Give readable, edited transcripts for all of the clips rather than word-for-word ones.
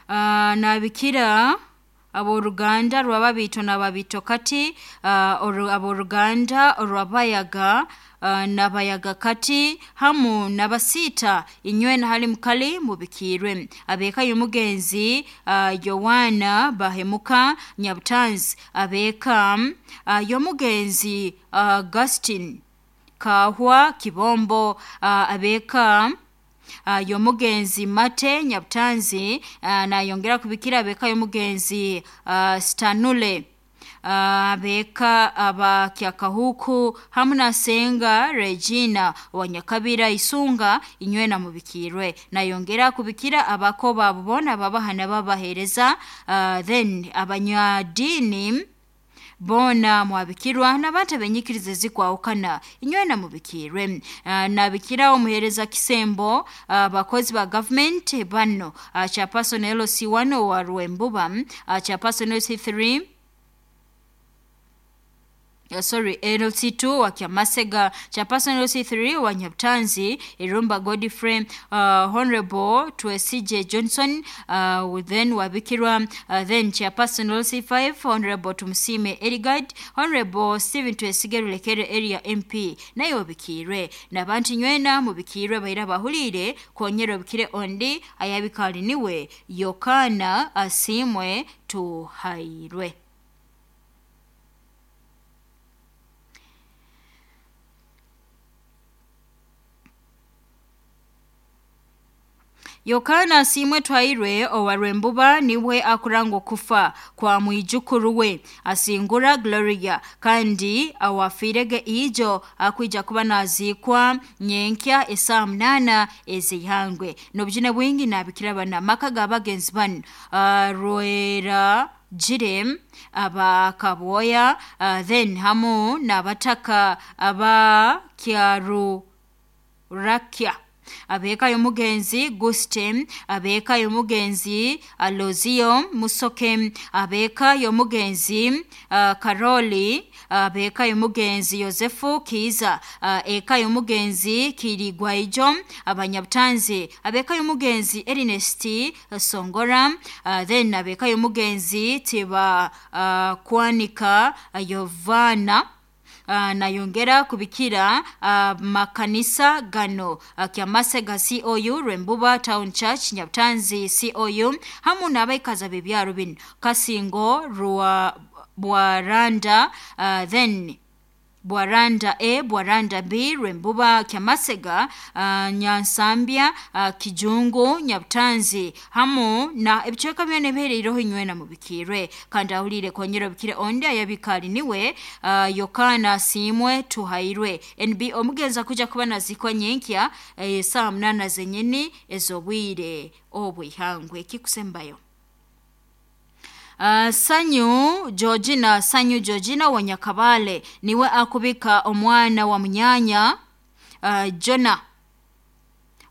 Nabikira ab'oruganda rw'ababiito n'ababiitokati, ab'oruganda orw'abayaga n'abayagakati hamu n'abasiita, inywena hali mukali mubikiirwe. Ab'eka y'omugenzi Yowaana Bahemuka Nyabutanzi, ab'eka y'omugenzi Augustine Kaahwa Kibombo, ab'eka y'omugenzi Mate Nyabutanzi, nayongera kubikira ab'eka y'omugenzi Stanule, ab'eka aba Kyakahuku hamu na Senga Regina wa Nyakabira Isunga, inywena mubikiirwe. Nayongera kubikira abako baabo boona ababaha n'ababaheereza, then abanyadiini boona mwabikirwa n'abantu ab'enyikiriza ezikwahukana, inywena mubikiirwe. Nabikira omuheereza Kisembo, abakozi ba gavumenti bano, chairperson LC1 owa Rwembuba, chairperson LC3, sorry, LC2 wa Kyamasega, chairperson LC3 wa Nyabutanzi, Irumba Godfrey, Honorable Twesige Johnson, then wabikirwa, then chairperson LC5 Honorable Tumusime Eligard, Honorable Stephen Twesige Rulekere area MP naye obikiirwe. N'abantu nywena mubikiirwe baira bahuliire konyera obikire ondi ayabikali niwe Yokana Asiimwe Tuhairwe. Yokana Asiimwe Twairwe owa Rwembuba niwe akuranga okufa kwa mwijukuru we Asingura Gloria, kandi awafiirege ijo akwija kuba naziikwa nyenkya esaaha 8 ez'ihangwe. N'obujune bwingi nabikira bana amaka g'abagenzi banu, Rwera Jire abakabwoya, then hamu n'abataka aba Kyarurakya, ab'eka y'omugenzi Guste, ab'eka y'omugenzi Alozio Musoke, ab'eka y'omugenzi Karoli, ab'eka y'omugenzi Yosefu Kiiza, eka y'omugenzi Kirigwaijo abanyabutanzi, ab'eka y'omugenzi Ernest Songora, then ab'eka y'omugenzi Tiba Kwanika Yovana. Nayongera kubikira makanisa gano, Kyamasega COU, Rwembuba Town Church, Nyabutanzi COU, hamu n'abaikazi ab'ebyaro binu Kasingo, Rwa Bwaranda, then Bwaranda A, Bwaranda B, Rwembuba, Kyamasega, Nyansambya, Kijungu, Nyabutanzi hamu na ebicweka byona ebihereireho inywena mubikiirwe. Kandi ahuliire konyera obikire ondi ayabikali niwe Yokana Asiimwe Tuhairwe. NB omugenzi akuja kuba naziikwa nyenkya esaaha 8 zenyini ez'obwire obw'ihangwe. Ekikusembayo. Sanyu Georgina, Sanyu Georgina wa Nyakabale niwe akubika omwana wa munyanya Jona,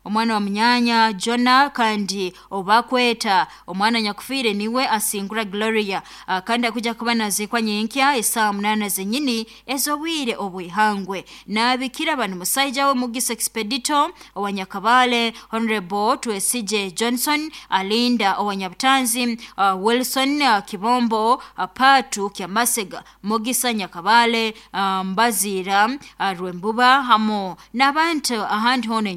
omwana wa munyanya Jona, kandi obakweta omwana nyakufiire niwe Asingura Gloria, kandi akuja kuba naziikwa nyenkya esaaha 8 zenyini ez'obwire obw'ihangwe. Nabikira banu musaija we Mugisa Expedito owa Nyakabale, Honorable Twesige Johnson Alinda owa Nyabutanzi, Wilson Kibombo, Patu Kyamasega, Mugisa Nyakabale, Mbazira, Rwembuba hamu n'abantu ahandi hoona.